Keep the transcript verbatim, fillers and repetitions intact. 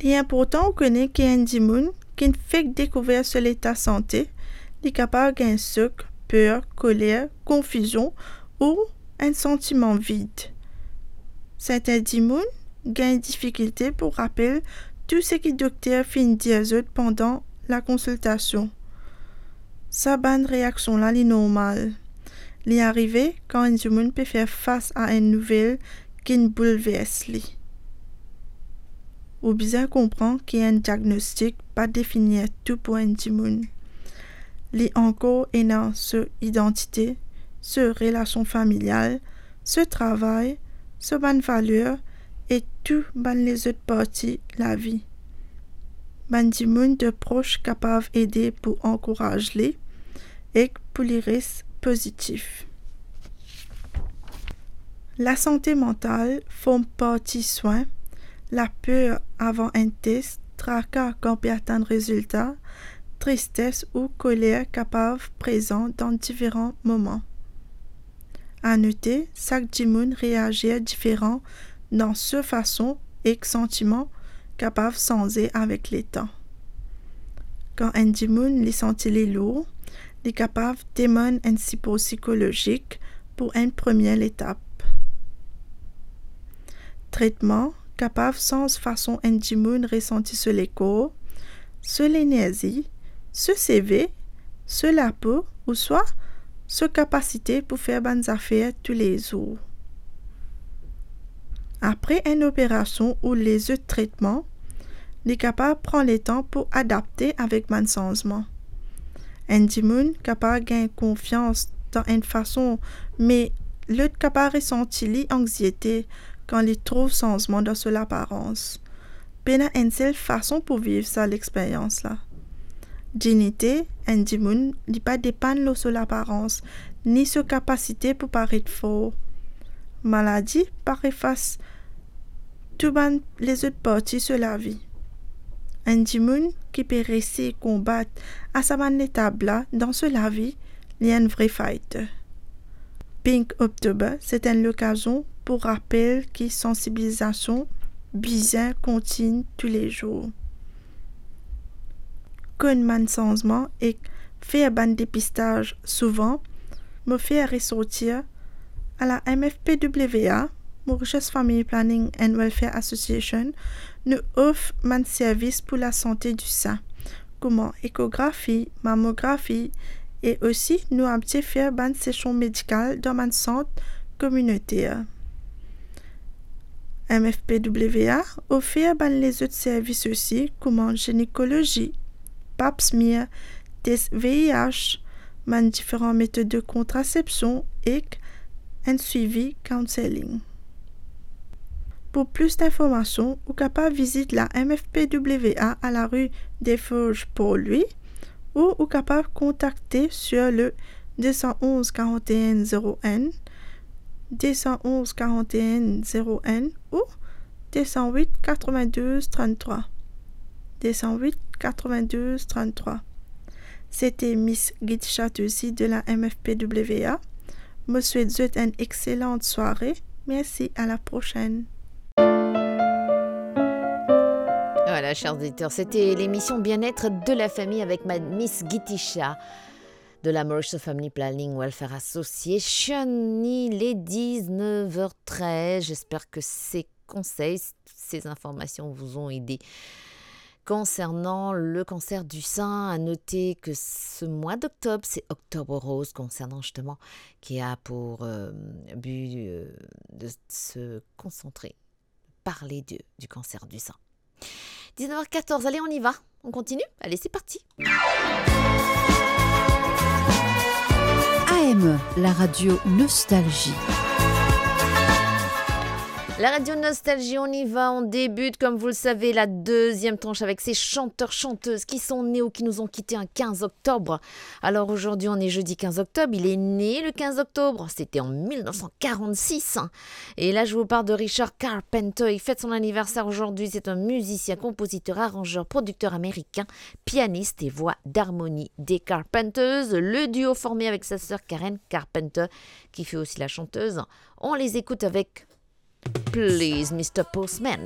Li inportan ou kone ki enn dimoun ki'nn fek dekouver so leta sante, li kapav gagn sok, per, koler, konfizion ou enn santiman vid. Serten dimoun gagn difikilte pou rapel tou seki dokter finn dir zot pandan lakonsiltasion. Sa bann reaksion la, li normal. Li arive kan enn dimoun pe fer fas a enn nouvel ki'nn boulvers li. Ou bizin konpran ki enn diagnostik pa definir tou pou enn dimoun. Li ankor ena so idantite, so relasion familial, so travay, so bann valer e tou bann lezot parti lavi. Bann dimoun de pros kapav ede pou ankouraz li ek pou li res pozitif. Lasante mantal form parti swin, laper avan enn tes, traka kan pe atann rezilta, tristes ou koler kapav prezan dan diferan moman. Anote, sak dimoun reazir diferan dan so fason ek santiman kapav sanze avek letan. Kan enn dimoun li santi li lour, li kapav demann enn sipor sikolozik pou enn premie letap. Tretman kapav sanz fason enn dimoun resanti so lekor, so lenerzi, so seve, so lapo ouswa so kapasite pou fer bann zafer toulezour. Apre enn operasion ou lezot tretman, li kapav pran letan pou adapte avek bann sanzman. Enn dimoun kapav gagn konfians dan enn fason, me lot kapav resanti li anxiete kan li trouv sanzman dan so laparans. Pena enn sel fason pou viv sa lexperyans la. Dignite enn dimoun, li pa depann lor so laparans, ni so kapasite pou paret for. Maladi pa efas tou bann lezot parti so lavi. Enn dimoun ki pe resi konbat a sa bann letap la dan so lavi, li enn vre fighter. Pink October, se enn lokazion pou rapel ki sansibilizasion bizin kontign toulezour. Konn bann sanzman ek fer bann depistaz souvan, mo fer resortir a la M F P W A, Mauritius Family Planning and Welfare Association, nou ofr bann servis pou lasante di sin, kouma ekografi, mamografi, e osi nou abitie fer bann sesion medikal dan bann sant kominoter. M F P W A ofer bann lezot servis osi, kouma ginekolozi, pap smear, tes V I H, bann diferan metod de kontrasepsion ek enn swivi counselling. Pou plis dinformasion, ou kapav vizit la M F P W A a lari Desforges Port-Louis, ou ou kapav kontakte sur le deux cent onze quarante et un zéro un, deux cent onze quarante et un zéro un ou deux cent huit quatre-vingt-douze trente-trois. Deux cent huit quatre-vingt-douze trente-trois. Sete Miss Gitisha Tosi de la M F P W A. Mo swet zot enn exselant sware. Mersi, à la prochaine. Voilà, chers auditeurs, c'était l'émission Bien-être de la famille avec ma Miss Gitisha de la Mauritius Family Planning Welfare Association. Il est dix-neuf heures treize. J'espère que ces conseils, ces informations vous ont aidé. Concernant le cancer du sein, à noter que ce mois d'octobre, c'est Octobre Rose, concernant justement, qui a pour, euh, but, euh, de se concentrer, parler de, du cancer du sein. Dix-neuf heures quatorze, allez, on y va. On continue ? Allez, c'est parti. A M, la radio Nostalgie. La radio Nostalgie, on y va, on débute, comme vous le savez, la deuxième tranche avec ces chanteurs, chanteuses qui sont nés ou qui nous ont quittés un quinze octobre. Alors aujourd'hui, on est jeudi quinze octobre, il est né le quinze octobre, c'était en mille neuf cent quarante-six, hein. Et là, je vous parle de Richard Carpenter. Il fête son anniversaire aujourd'hui. C'est un musicien, compositeur, arrangeur, producteur américain, pianiste et voix d'harmonie des Carpenters. Le duo formé avec sa sœur Karen Carpenter, qui fut aussi la chanteuse. On les écoute avec Please, Mister Postman.